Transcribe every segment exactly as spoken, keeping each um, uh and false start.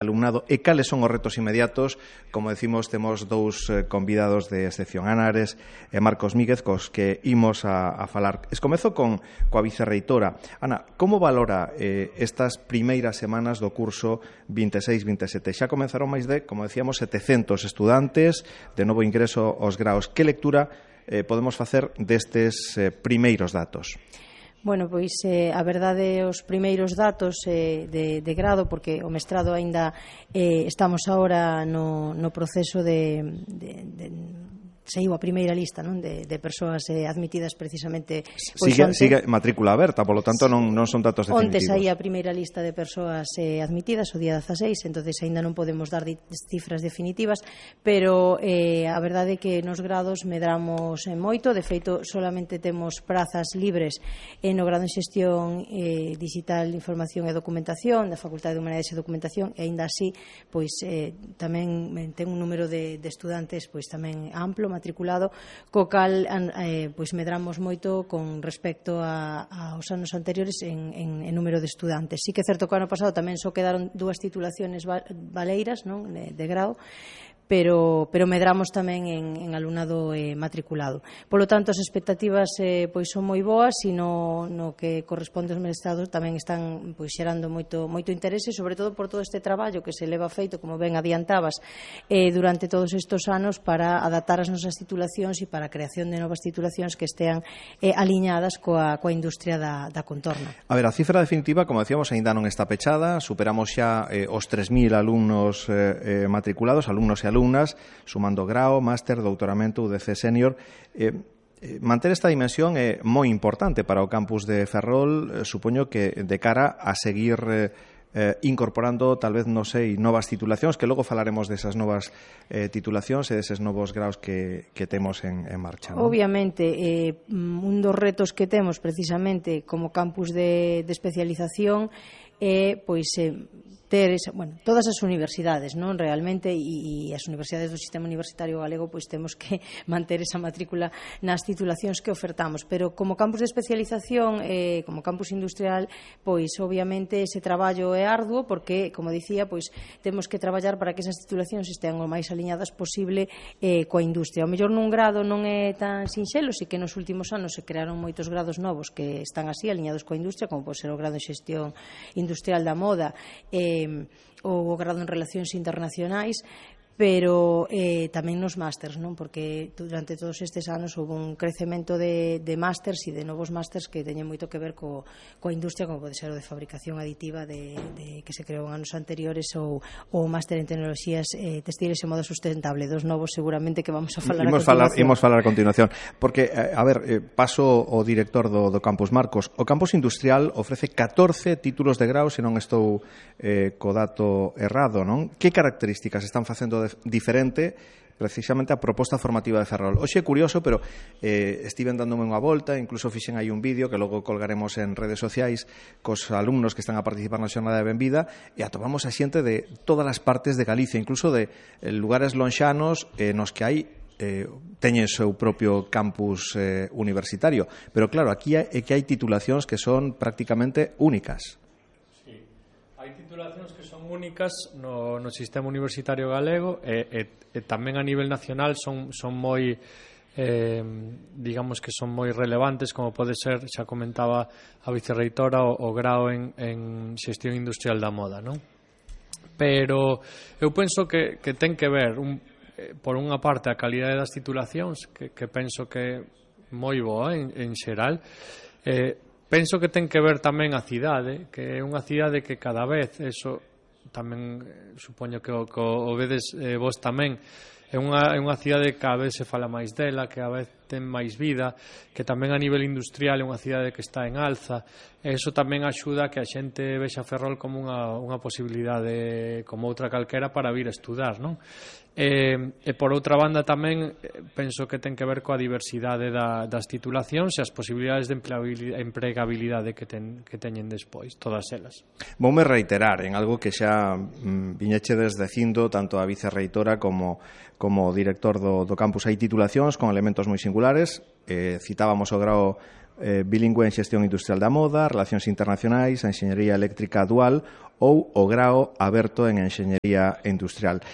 alumnado e cales son os retos inmediatos. Como decimos, temos dous eh, convidados de excepción, Ana Ares e Marcos Míguez, cos que imos a, a falar. Escomezo con coa vicerreitora. Ana, como valora eh, estas primeiras semanas do curso vinte e seis vinte e sete? Xa comenzaron máis de, como decíamos, setecentos estudantes de novo ingreso aos graos. Que lectura eh, podemos facer destes eh, primeiros datos? Bueno, pois eh, a verdade, os primeiros datos eh, de, de grado, porque o mestrado aínda eh, estamos agora no, no proceso de, de, de saiu a primeira lista, non, de, de persoas eh, admitidas precisamente pois sigue, onte, sigue matrícula aberta, polo tanto non, non son datos definitivos. Onte saía a primeira lista de persoas eh, admitidas o día dezaseis, entonces aínda non podemos dar cifras definitivas, pero eh, a verdade é que nos grados medramos en moito. De feito, solamente temos prazas libres eh, no grado en xestión eh, digital, información e documentación da Facultade de Humanidades e Documentación, e aínda así pois eh, tamén ten un número de, de estudantes pois tamén amplo, matriculado, co cal eh, pois medramos moito con respecto a, aos anos anteriores en, en, en número de estudantes. Sí que é certo que o ano pasado tamén só quedaron dúas titulaciones valeiras, non, de, de grado, pero, pero medramos tamén en, en alumnado eh, matriculado. Polo tanto, as expectativas eh, pois son moi boas, e no, no que corresponde aos mestrados tamén están pois xerando moito, moito interese, sobre todo por todo este traballo que se leva feito, como ben adiantabas, eh, durante todos estes anos para adaptar as nosas titulacións e para a creación de novas titulacións que estean eh, aliñadas coa, coa industria da, da contorna. A ver, a cifra definitiva, como decíamos, aínda non está pechada. Superamos xa eh, os tres mil alumnos eh, eh, matriculados, alumnos e alumnos, sumando grao, máster, doutoramento, U D C senior. Eh, eh, manter esta dimensión é moi importante para o campus de Ferrol, eh, supoño que de cara a seguir eh, eh, incorporando, tal vez, non sei, novas titulacións, que logo falaremos desas novas eh, titulacións e deses novos graos que, que temos en, en marcha, non? Obviamente, eh, un dos retos que temos precisamente como campus de, de especialización é, pois, eh, ter esa, bueno, todas as universidades, non, realmente, e, e as universidades do sistema universitario galego pois temos que manter esa matrícula nas titulacións que ofertamos, pero como campus de especialización, eh, como campus industrial, pois obviamente ese traballo é arduo, porque, como dicía, pois temos que traballar para que esas titulacións estean o máis aliñadas posible eh, coa industria. O mellor nun grado non é tan sinxelo, si que nos últimos anos se crearon moitos grados novos que están así aliñados coa industria, como pode ser o grado de xestión industrial da moda, eh, ou o grado en relacións internacionais, pero eh, tamén nos másters, non? Porque durante todos estes anos houve un crecemento de, de másters e de novos másters que teñen moito que ver co, coa industria, como pode ser o de fabricación aditiva de, de, que se creou en anos anteriores, ou o máster en tecnoloxías eh, textiles e moda sustentable, dos novos seguramente que vamos a falar imos a continuación. Falar, imos falar a continuación, porque, a ver, eh, paso o director do, do campus, Marcos. O campus industrial ofrece catorce títulos de grau, se non estou eh, co dato errado, non? Que características están facendo de diferente precisamente a proposta formativa de Ferrol? Hoxe é curioso, pero eh, estiven dándome unha volta, incluso fixen aí un vídeo que logo colgaremos en redes sociais cos alumnos que están a participar na xornada de Benvida, e atopamos a xente de todas as partes de Galicia, incluso de eh, lugares lonxanos eh, nos que hai eh, teñen seu propio campus eh, universitario. Pero claro, aquí é que hai titulacións que son prácticamente únicas. Hai titulacións que son únicas no, no sistema universitario galego, e, e, e tamén a nivel nacional son, son moi eh, digamos que son moi relevantes, como pode ser, xa comentaba a vicerreitora, o, o grao en, en xestión industrial da moda, non? Pero eu penso que, que ten que ver un, eh, por unha parte a calidade das titulacións, que, que penso que é moi boa en, en xeral. eh, Penso que ten que ver tamén a cidade, que é unha cidade que cada vez, eso tamén supoño que o, que o vedes eh, vos tamén, é unha, é unha cidade que cada vez se fala máis dela, que cada vez ten máis vida, que tamén a nivel industrial é unha cidade que está en alza, e iso tamén axuda a que a xente vexa Ferrol como unha, unha posibilidade como outra calquera para vir a estudar, non? E, e por outra banda tamén penso que ten que ver coa diversidade da, das titulacións e as posibilidades de empregabilidade que, ten, que teñen despois, todas elas. Voume reiterar en algo que xa mm, viñechedes dicindo tanto a vicerreitora como, como o director do, do campus. Hai titulacións con elementos moi singulares, eh, citábamos o grao eh, bilingüe en xestión industrial da moda, relacións internacionais, a enxeñería eléctrica dual ou o grao aberto en enxeñería industrial.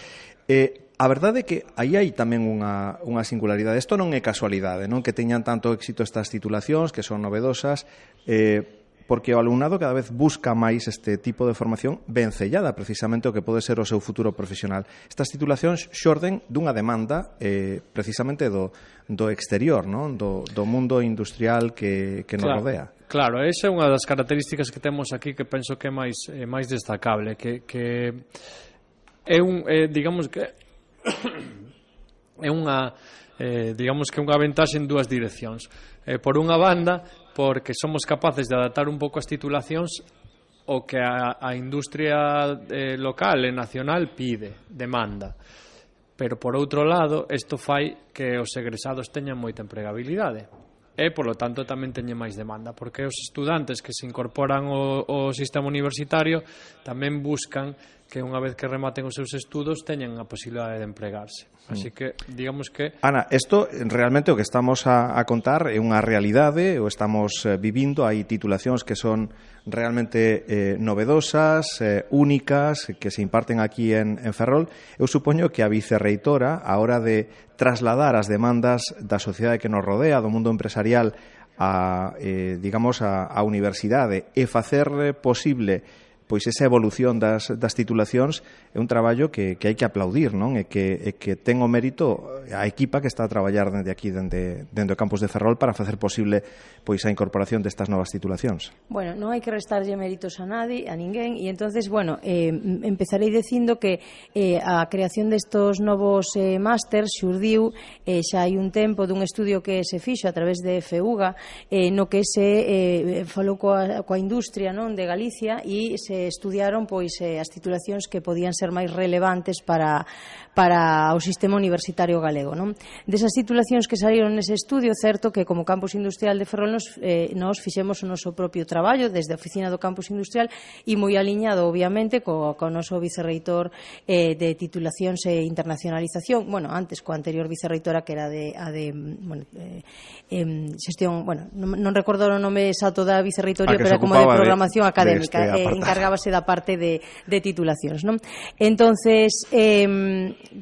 Eh, a verdade é que aí hai tamén unha, unha singularidade. Isto non é casualidade, non que teñan tanto éxito estas titulacións, que son novedosas, eh, porque o alumnado cada vez busca máis este tipo de formación vencellada precisamente o que pode ser o seu futuro profesional. Estas titulacións xorden dunha demanda eh, precisamente do, do exterior, non? Do, do mundo industrial que, que nos claro, rodea. Claro, esa é unha das características que temos aquí que penso que é máis, é máis destacable, que, que é un, é, digamos que é unha eh, digamos que unha ventaxe en dúas direccións. Eh, por unha banda, porque somos capaces de adaptar un pouco as titulacións o que a, a industria eh, local e nacional pide, demanda. Pero, por outro lado, isto fai que os egresados teñan moita empregabilidade e, polo tanto, tamén teñen máis demanda, porque os estudantes que se incorporan ao, ao sistema universitario tamén buscan que unha vez que rematen os seus estudos teñan a posibilidade de empregarse. Así que, digamos que... Ana, isto realmente o que estamos a, a contar é unha realidade, o estamos eh, vivindo, hai titulacións que son realmente eh, novedosas, eh, únicas, que se imparten aquí en, en Ferrol. Eu supoño que a vicerreitora, a hora de trasladar as demandas da sociedade que nos rodea, do mundo empresarial, a, eh, digamos, a, a universidade e facer posible pois esa evolución das, das titulacións é un traballo que, que hai que aplaudir, non? E que, e que ten o mérito a equipa que está a traballar dende aquí, dende, dende o campus de Ferrol, para facer posible pois a incorporación destas novas titulacións. Bueno, non hai que restarlle méritos a nadie, a ninguén, e entonces, bueno, eh, empezarei dicindo que eh, a creación destos novos eh, másters xurdiu eh, xa hai un tempo dun estudio que se fixo a través de FEUGA, eh, no que se eh, falou coa, coa industria, non, de Galicia, e se estudiaron pois eh, as titulacións que podían ser máis relevantes para, para o sistema universitario galego, non? Desas titulacións que salieron nese estudio, certo que como Campus Industrial de Ferrol nos, eh, nos fixemos o noso propio traballo desde a oficina do Campus Industrial e moi aliñado, obviamente, co, co noso vicerreitor eh, de titulacións e internacionalización, bueno, antes coa anterior vicerreitora que era de, a de bueno, eh, eh, xestión, bueno, non, non recordo o nome exacto da vicerreitoría, pero era como de programación de, académica, de este eh, encargábase da parte de, de titulacións, non? Entonces, eh,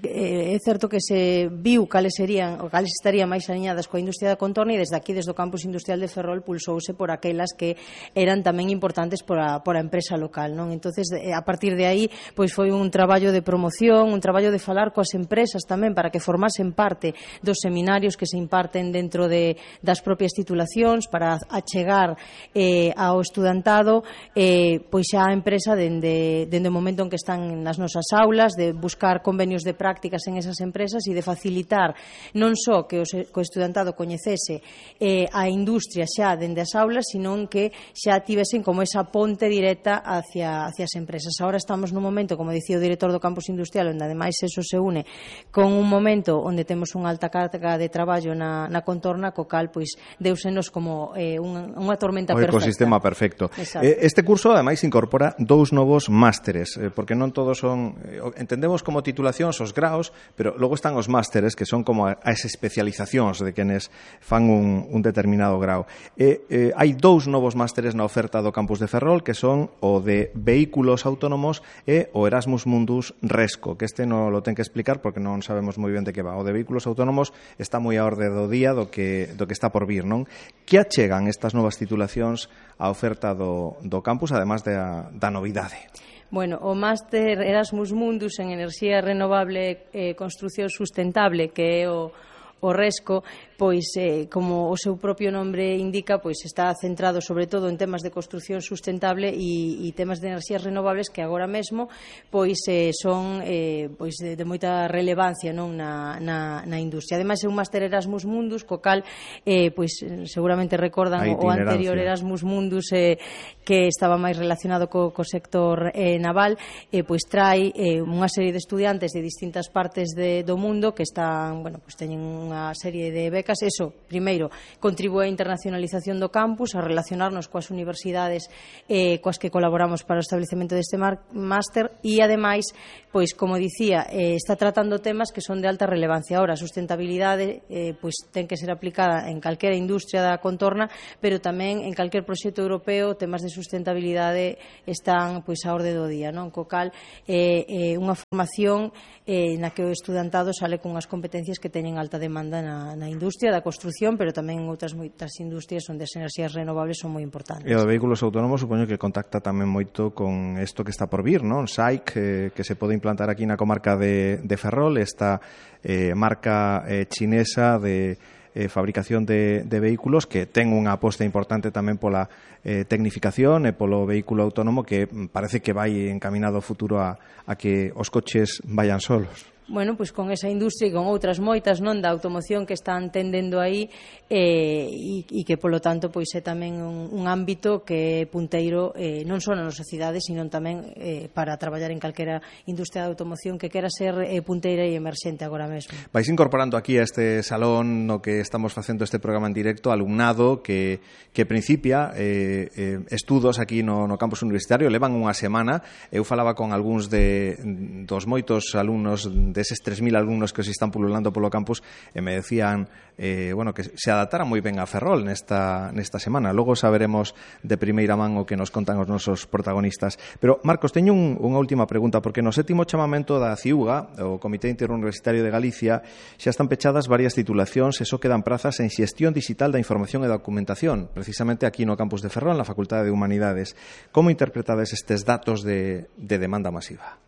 é certo que se viu cales serían ou cales estarían máis aliñadas coa industria da contorna e desde aquí, desde o Campus Industrial de Ferrol, pulsouse por aquelas que eran tamén importantes por a, por a empresa local, non? Entonces, a partir de aí, pois foi un traballo de promoción, un traballo de falar coas empresas tamén para que formasen parte dos seminarios que se imparten dentro de, das propias titulacións para achegar eh, ao estudantado eh, pois xa a empresa dende, dende o momento en que están nas nosas aulas, de buscar convenios de prácticas en esas empresas e de facilitar non só que o, que o estudantado coñecese eh, a industria xa dende as aulas, sino que xa tivesen como esa ponte directa hacia, hacia as empresas. Ahora estamos nun momento, como dicía o director do Campus Industrial, onde ademais eso se une con un momento onde temos unha alta carga de traballo na, na contorna, co cal pois deusenos como eh, unha, unha tormenta o perfecta. O ecosistema perfecto. Eh, este curso ademais incorpora dous novos másteres, eh, porque non todos son, eh, entendemos como titulacións os graos, pero logo están os másteres, que son como as especializacións de quenes fan un, un determinado grao. Eh, eh, hai dous novos másteres na oferta do campus de Ferrol, que son o de vehículos autónomos e o Erasmus Mundus Resco, que este non lo ten que explicar porque non sabemos moi ben de que va. O de vehículos autónomos está moi a orde do día do que, do que está por vir, non? Que achegan estas novas titulacións á oferta do, do campus, además da, da novidade? Bueno, o máster Erasmus Mundus en Enerxía Renovable e Construcción Sustentable, que é o, o Resco, pois, eh, como o seu propio nombre indica, pois está centrado sobre todo en temas de construcción sustentable e, e temas de enerxías renovables que agora mesmo pois eh, son eh, pois de, de moita relevancia, non, na, na, na industria. Ademais é un máster Erasmus Mundus, co cal eh, pois seguramente recordan o anterior Erasmus Mundus eh, que estaba máis relacionado co, co sector eh, naval, eh, pois trai eh, unha serie de estudiantes de distintas partes de, do mundo que están, bueno, pois teñen unha serie de becas bibliotecas, eso, primeiro, contribúe á internacionalización do campus, a relacionarnos coas universidades eh, coas que colaboramos para o establecemento deste máster e, ademais, pois, como dicía, eh, está tratando temas que son de alta relevancia. Ahora, a sustentabilidade eh, pois, ten que ser aplicada en calquera industria da contorna, pero tamén en calquer proxecto europeo temas de sustentabilidade están pois, a orde do día, non? Co cal, eh, eh, unha formación eh, na que o estudantado sale con as competencias que teñen alta demanda na, na industria da construción, pero tamén en outras moitas industrias onde as enerxías renovables son moi importantes. E o de vehículos autónomos supoño que contacta tamén moito con isto que está por vir, non? S A I C, eh, que se pode implantar aquí na comarca de, de Ferrol, esta eh, marca eh, chinesa de eh, fabricación de, de vehículos que ten unha aposta importante tamén pola eh, tecnificación e polo vehículo autónomo que parece que vai encaminado ao futuro a, a que os coches vayan solos. Bueno, pois con esa industria e con outras moitas, non, da automoción que están tendendo aí eh, e, e que, polo tanto, pois é tamén un, un ámbito que é punteiro eh, non só na nosa cidade, sino tamén eh, para traballar en calquera industria de automoción que quera ser eh, punteira e emerxente agora mesmo. Vais incorporando aquí a este salón no que estamos facendo este programa en directo alumnado que, que principia eh, eh, estudos aquí no, no campus universitario, levan unha semana. Eu falaba con algúns de, dos moitos alumnos deses tres mil alumnos que se están pululando polo campus e me decían eh, bueno, que se adaptaran moi ben a Ferrol nesta, nesta semana. Logo saberemos de primeira man o que nos contan os nosos protagonistas. Pero, Marcos, teño un, unha última pregunta, porque no sétimo chamamento da CIUGA, o Comité Interuniversitario de Galicia, xa están pechadas varias titulacións e só quedan prazas en xestión digital da información e documentación, precisamente aquí no campus de Ferrol, na Facultade de Humanidades. Como interpretades estes datos de, de demanda masiva?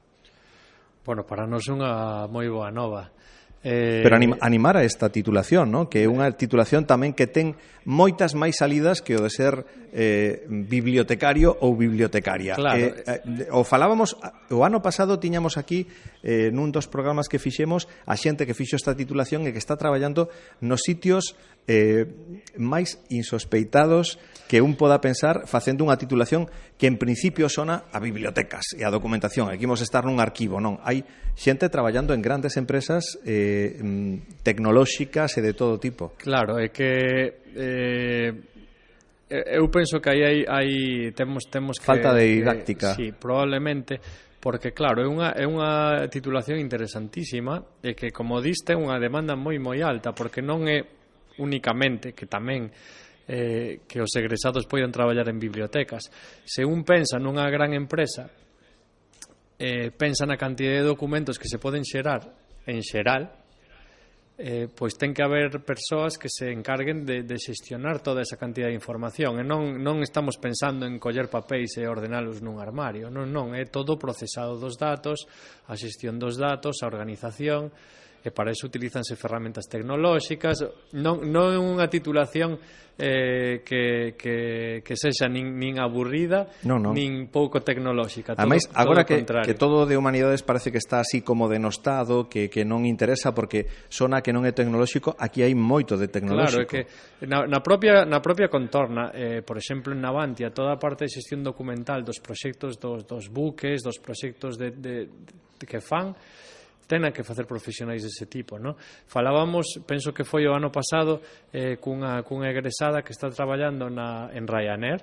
Bueno, para nós é unha moi boa nova. Eh... Pero anim, animar a esta titulación, ¿no? Que é unha titulación tamén que ten moitas máis salidas que o de ser eh, bibliotecario ou bibliotecaria. Claro. Eh, eh, o falábamos, o ano pasado tiñamos aquí eh, nun dos programas que fixemos a xente que fixo esta titulación e que está traballando nos sitios eh, máis insospeitados que un poda pensar facendo unha titulación que en principio sona a bibliotecas e a documentación. Aquí imos estar nun arquivo, non? Hai xente traballando en grandes empresas eh, tecnolóxicas e de todo tipo. Claro, é que eh, eu penso que aí hai, hai temos temos que falta de didáctica. Que, sí, probablemente, porque claro, é unha é unha titulación interesantísima e que, como diste, é unha demanda moi moi alta, porque non é únicamente que tamén eh, que os egresados poidan traballar en bibliotecas. Se un pensa nunha gran empresa, eh, pensa na cantidad de documentos que se poden xerar en xeral, eh, pois ten que haber persoas que se encarguen de, de xestionar toda esa cantidad de información, e non, non estamos pensando en coller papéis e ordenalos nun armario, non, non, é todo o procesado dos datos, a xestión dos datos, a organización, e para iso utilizanse ferramentas tecnolóxicas. Non, non é unha titulación eh, que, que, que sexa nin, nin aburrida, no, no. nin pouco tecnolóxica. Ademais, todo, agora todo que, que todo de humanidades parece que está así como denostado, que, que non interesa porque sona que non é tecnolóxico, aquí hai moito de tecnolóxico. Claro, é que na, na, propia, na propia contorna, eh, por exemplo, en Navantia, toda a parte de xestión documental dos proxectos dos, dos buques, dos proxectos de, de, de que fan, tenan que facer profesionais dese tipo, non? Falábamos, penso que foi o ano pasado, eh, cunha, cunha egresada que está traballando na, en Ryanair,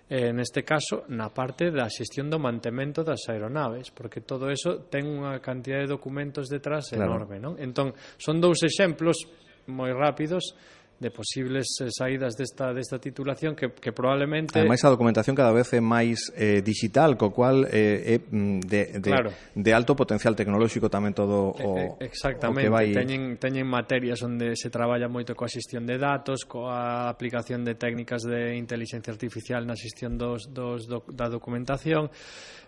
eh, neste caso, na parte da xestión do mantemento das aeronaves, porque todo eso ten unha cantidad de documentos detrás enorme, claro. Non? Entón, son dous exemplos moi rápidos de posibles saídas desta, desta titulación que, que probablemente... Ademais, a documentación cada vez é máis eh, digital, co cual eh, é de, de, claro. de alto potencial tecnolóxico tamén todo o, exactamente, o que vai... teñen, teñen materias onde se traballa moito coa xestión de datos, coa aplicación de técnicas de inteligencia artificial na xestión dos, dos, do, da documentación.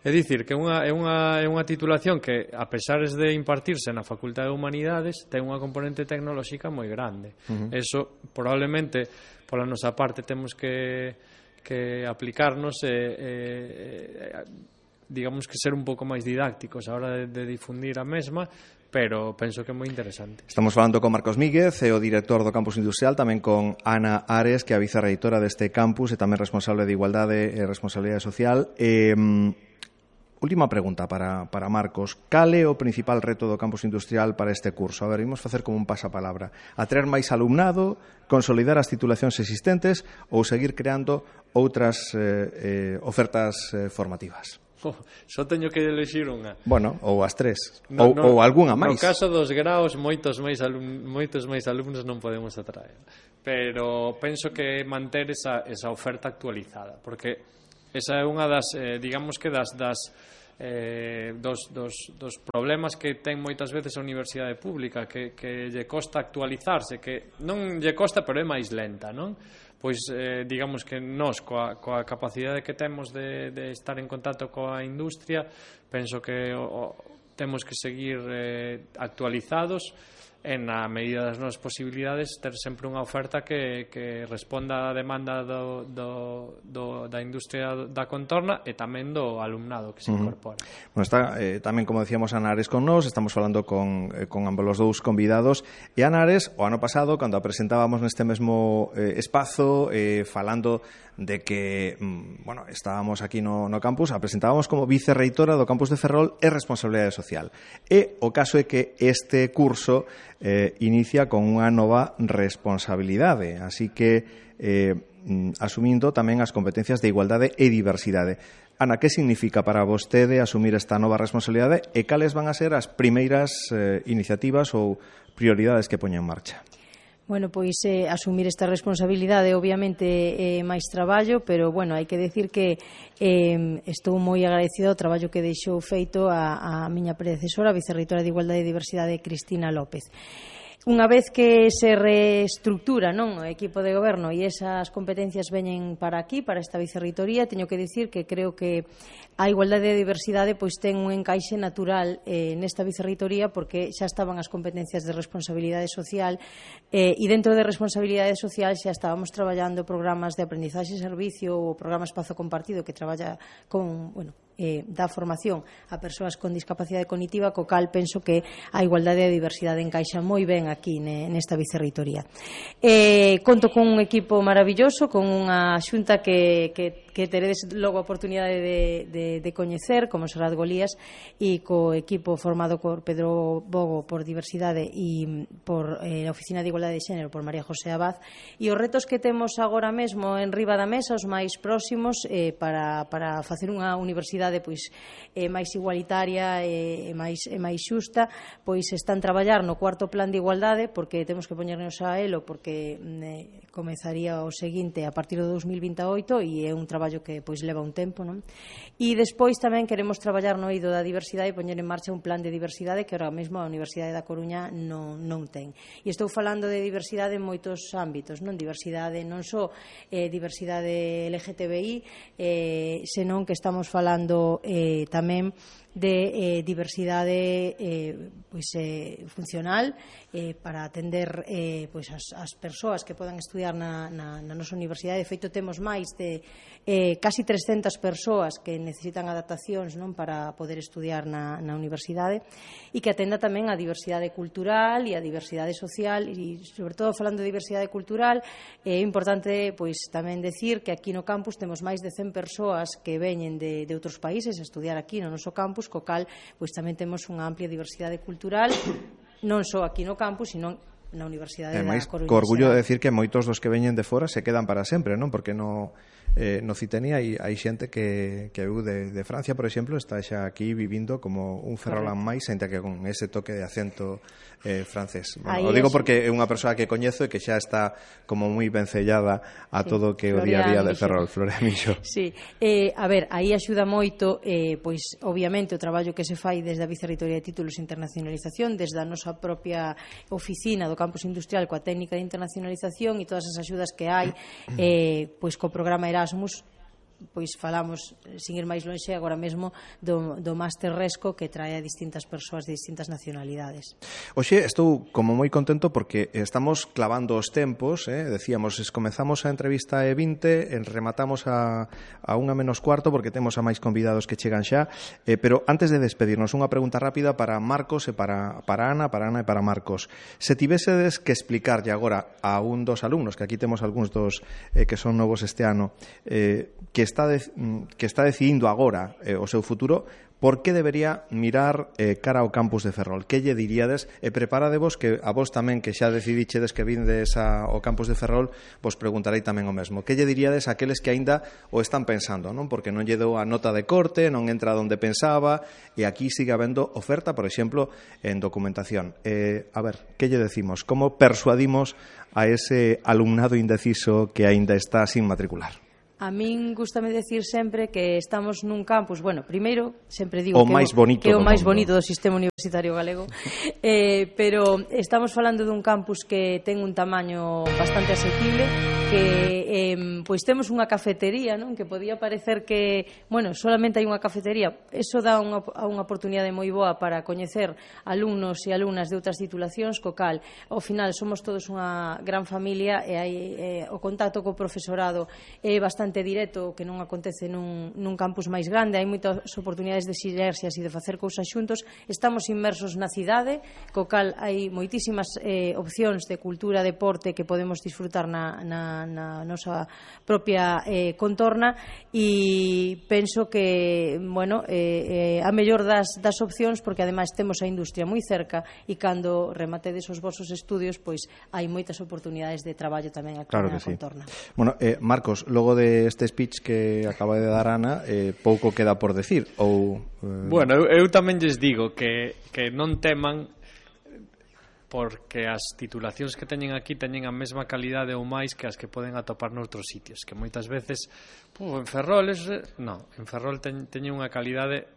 É dicir, que é unha, é, unha, é unha titulación que, a pesar de impartirse na Facultade de Humanidades, ten unha componente tecnolóxica moi grande. Uh -huh. Eso, probablemente, pola nosa parte, temos que, que aplicarnos e, e, digamos que ser un pouco máis didácticos a hora de, de difundir a mesma, pero penso que é moi interesante. Estamos falando con Marcos Míguez, o director do Campus Industrial, tamén con Ana Ares, que é a vicerreitora deste campus e tamén responsable de Igualdade e Responsabilidade Social. Eh, Última pregunta para, para Marcos. Cal é o principal reto do campus industrial para este curso? A ver, imos facer como un pasapalabra. Atraer máis alumnado, consolidar as titulacións existentes ou seguir creando outras eh, eh, ofertas eh, formativas? Oh, só teño que elegir unha. Bueno, ou as tres. No, ou, no, ou algunha máis. No caso dos graos, moitos máis, alum, moitos máis alumnos non podemos atraer. Pero penso que manter esa, esa oferta actualizada, porque esa é unha das, eh, digamos que das, das eh, dos, dos, dos problemas que ten moitas veces a universidade pública, que, que lle costa actualizarse, que non lle costa, pero é máis lenta, non? Pois, eh, digamos que nós, coa, coa capacidade que temos de, de estar en contacto coa industria, penso que o, o, temos que seguir eh, actualizados e na medida das nosas posibilidades ter sempre unha oferta que, que responda á demanda do, do, do, da industria da contorna e tamén do alumnado que se incorpora. Uh-huh. Bueno, está eh, tamén, como decíamos, Ana Ares con nós, estamos falando con, eh, con ambos os dous convidados, e Ana Ares, o ano pasado, cando a presentábamos neste mesmo eh, espazo, eh, falando de que, mm, bueno, estábamos aquí no, no campus, a presentábamos como vicerreitora do campus de Ferrol e responsabilidade social. E o caso é que este curso eh, inicia con unha nova responsabilidade, así que eh, asumindo tamén as competencias de igualdade e diversidade. Ana, que significa para vostede asumir esta nova responsabilidade e cales van a ser as primeiras eh, iniciativas ou prioridades que poña en marcha? Bueno, pois eh, asumir esta responsabilidade obviamente é eh, máis traballo, pero bueno, hai que decir que eh, estou moi agradecida ao traballo que deixou feito a, a miña predecesora, a vicerreitora de Igualdade e Diversidade, Cristina López. Unha vez que se reestructura, non, o equipo de goberno e esas competencias veñen para aquí, para esta vicerreitoría, teño que dicir que creo que a igualdade e a diversidade pois ten un encaixe natural eh, nesta vicerreitoría, porque xa estaban as competencias de responsabilidade social eh, e dentro de responsabilidade social xa estábamos traballando programas de aprendizaxe e servicio ou programa Espazo Compartido que traballa con, bueno, eh, dá formación a persoas con discapacidade cognitiva, co cal penso que a igualdade e a diversidade encaixa moi ben aquí nesta vicerreitoría. Eh, conto con un equipo maravilloso, con unha xunta que, que, que teredes logo a oportunidade de, de, de coñecer, como Serrat Golías, e co equipo formado por Pedro Bogo por diversidade e por eh, a Oficina de Igualdade de Xénero por María José Abad, e os retos que temos agora mesmo en riba da mesa, os máis próximos, eh, para, para facer unha universidade pois eh, máis igualitaria e eh, máis, eh, máis xusta, pois están traballar no cuarto plan de igualdade, porque temos que poñernos a elo, porque eh, comezaría o seguinte a partir do dos mil vinte e oito e é un traballo que pois leva un tempo, non? E despois tamén queremos traballar no eido da diversidade e poñer en marcha un plan de diversidade que ahora mesmo a Universidade da Coruña non, non ten. E estou falando de diversidade en moitos ámbitos, non? Diversidade non só eh, diversidade L G T B I, eh, senón que estamos falando eh, tamén de eh, diversidade eh, pois, eh, funcional eh, para atender eh, pois as, as persoas que podan estudiar na, na, na nosa universidade. De feito, temos máis de eh, casi trescentas persoas que necesitan adaptacións, non, para poder estudiar na, na universidade, e que atenda tamén a diversidade cultural e a diversidade social, e sobre todo falando de diversidade cultural é importante pois tamén decir que aquí no campus temos máis de cen persoas que veñen de, de outros países a estudiar aquí no noso campus, co cal pois tamén temos unha amplia diversidade cultural non só aquí no campus, sino na Universidade da Coruña. Co orgullo de decir que moitos dos que veñen de fora se quedan para sempre, non? Porque no eh, no Citeni hai, hai xente que, que eu de, de Francia, por exemplo, está xa aquí vivindo como un ferrolán máis, ainda que con ese toque de acento eh, francés. Bueno, o digo porque é unha persoa que coñezo e que xa está como moi vencellada a sí, todo que o día a día de Ferrol, Florian Mixo. Sí, eh, a ver, aí axuda moito, eh, pois, obviamente, o traballo que se fai desde a Vicerreitoría de Títulos e Internacionalización, desde a nosa propia oficina do Campus Industrial coa técnica de internacionalización e todas as axudas que hai, eh, pois, co programa Erasmus, pois falamos, sin ir máis lonxe, agora mesmo do, do Máster Resco, que trae a distintas persoas de distintas nacionalidades. Oxe, estou como moi contento porque estamos clavando os tempos, eh? Decíamos, comezamos a entrevista e vinte, rematamos a, a unha menos cuarto porque temos a máis convidados que chegan xa, eh, pero antes de despedirnos, unha pregunta rápida para Marcos e para, para Ana, para Ana e para Marcos. Se tivesedes que explicarlle agora a un dos alumnos, que aquí temos algúns dos eh, que son novos este ano, eh, que está de, que está decidindo agora eh, o seu futuro, por que debería mirar eh, cara ao campus de Ferrol? Que lle diríades? E preparadevos que a vos tamén, que xa decidichedes que vindes a, ao campus de Ferrol, vos preguntarei tamén o mesmo. Que lle diríades a aqueles que aínda o están pensando, non? Porque non lle dou a nota de corte, non entra onde pensaba, e aquí sigue habendo oferta, por exemplo, en documentación. Eh, a ver, que lle decimos? Como persuadimos a ese alumnado indeciso que aínda está sin matricular? A min gústame decir sempre que estamos nun campus, bueno, primeiro, sempre digo o que, máis bonito que é o máis mundo. bonito do sistema universitario galego, eh, pero estamos falando dun campus que ten un tamaño bastante asequible, que eh, pois temos unha cafetería, non? Que podía parecer que, bueno, solamente hai unha cafetería, eso dá unha, unha oportunidade moi boa para coñecer alumnos e alumnas de outras titulacións, co cal, ao final, somos todos unha gran familia e hai eh, o contacto co profesorado é bastante directo, que non acontece nun, nun campus máis grande, hai moitas oportunidades de sinerxias e de facer cousas xuntos, estamos inmersos na cidade, co cal hai moitísimas eh, opcións de cultura, deporte que podemos disfrutar na, na, na nosa propia eh, contorna, e penso que, bueno, eh, eh, a mellor das, das opcións, porque ademais temos a industria moi cerca, e cando rematedes os vosos estudios, pois hai moitas oportunidades de traballo tamén aquí claro na sí. contorna. Bueno, eh, Marcos, logo de este speech que acaba de dar Ana, eh, pouco queda por decir ou eh... Bueno, eu, eu tamén lles digo que, que non teman, porque as titulacións que teñen aquí teñen a mesma calidade ou máis que as que poden atopar noutros sitios, que moitas veces pu, en Ferrol es, no, en Ferrol ten, teñen unha calidade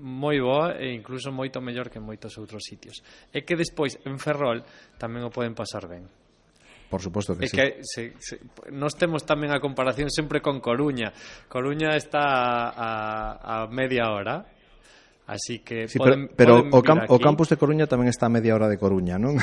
moi boa e incluso moito mellor que en moitos outros sitios, e que despois en Ferrol tamén o poden pasar ben. Por suposto que é sí. Que se, se, nós temos tamén a comparación sempre con Coruña. Coruña está a, a media hora, así que sí, poden, pero, pero poden o, camp, aquí. o campus de Coruña tamén está a media hora de Coruña, non?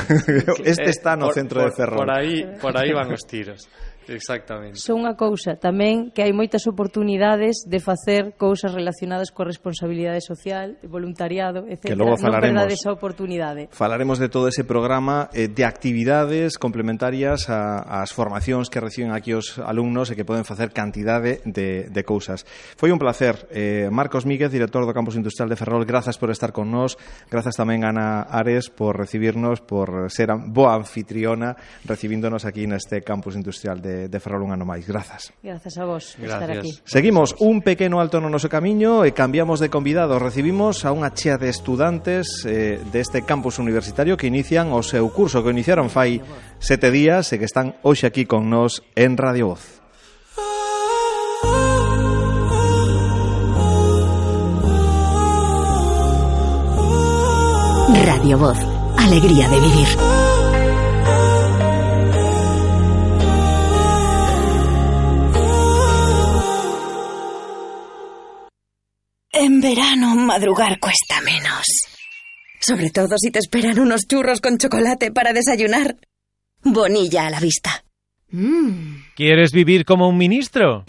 Este está no por, centro por, de Ferrol. Por aí, por aí van os tiros. Exactamente. Son unha cousa tamén que hai moitas oportunidades de facer cousas relacionadas coa responsabilidade social, voluntariado, etcétera. Que logo falaremos, non perdades esa oportunidade. Falaremos de todo ese programa eh, de actividades complementarias a, ás formacións que reciben aquí os alumnos e que poden facer cantidade de, de cousas. Foi un placer. Eh, Marcos Míguez, director do Campus Industrial de Ferrol, grazas por estar con nós. Grazas tamén a Ana Ares por recibirnos, por ser boa anfitriona recibíndonos aquí neste Campus Industrial de de Ferrol un ano máis. Grazas. Grazas a vos por estar aquí. Seguimos un pequeno alto no noso camiño e cambiamos de convidados. Recibimos a unha chea de estudantes eh, deste campus universitario que inician o seu curso, que iniciaron fai sete días e que están hoxe aquí con nós en Radio Voz. Radio Voz, alegría de vivir. En verano madrugar cuesta menos. Sobre todo si te esperan unos churros con chocolate para desayunar. Bonilla a la vista. Mm. ¿Quieres vivir como un ministro?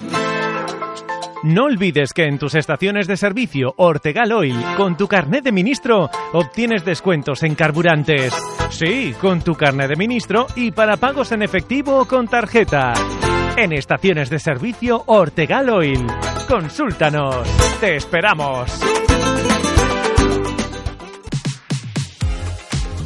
No olvides que en tus estaciones de servicio Ortegal Oil, con tu carnet de ministro, obtienes descuentos en carburantes. Sí, con tu carnet de ministro y para pagos en efectivo o con tarjeta. En estaciones de servicio Ortegal Oil. Consúltanos. ¡Te esperamos!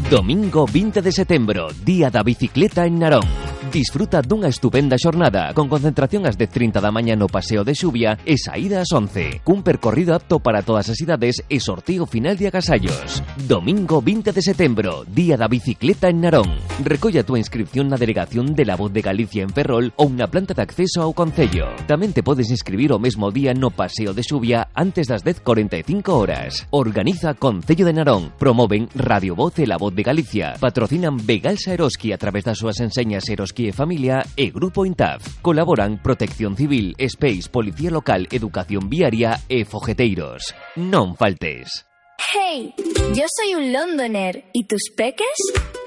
Domingo veinte de setembro, Día da Bicicleta en Narón. Disfruta dunha estupenda xornada con concentración ás dez e trinta da mañá no Paseo de Xubia e saída ás once, cun percorrido apto para todas as idades e sorteo final de agasallos. Domingo veinte de setembro, Día da Bicicleta en Narón. Recolla a túa inscripción na delegación de La Voz de Galicia en Ferrol ou na planta de acceso ao concello. Tamén te podes inscribir o mesmo día no Paseo de Xubia antes das dez e cuarenta e cinco horas. Organiza Concello de Narón. Promoven Radio Voz e La Voz de Galicia. Patrocinan Begalsa Eroski a través das súas enseñas Eroski e Familia e Grupo Intaf. Colaboran Protección Civil, Space, Policía Local, Educación Viaria e Fogeteiros. Non faltes. Hey, yo soy un londoner. ¿Y tus peques?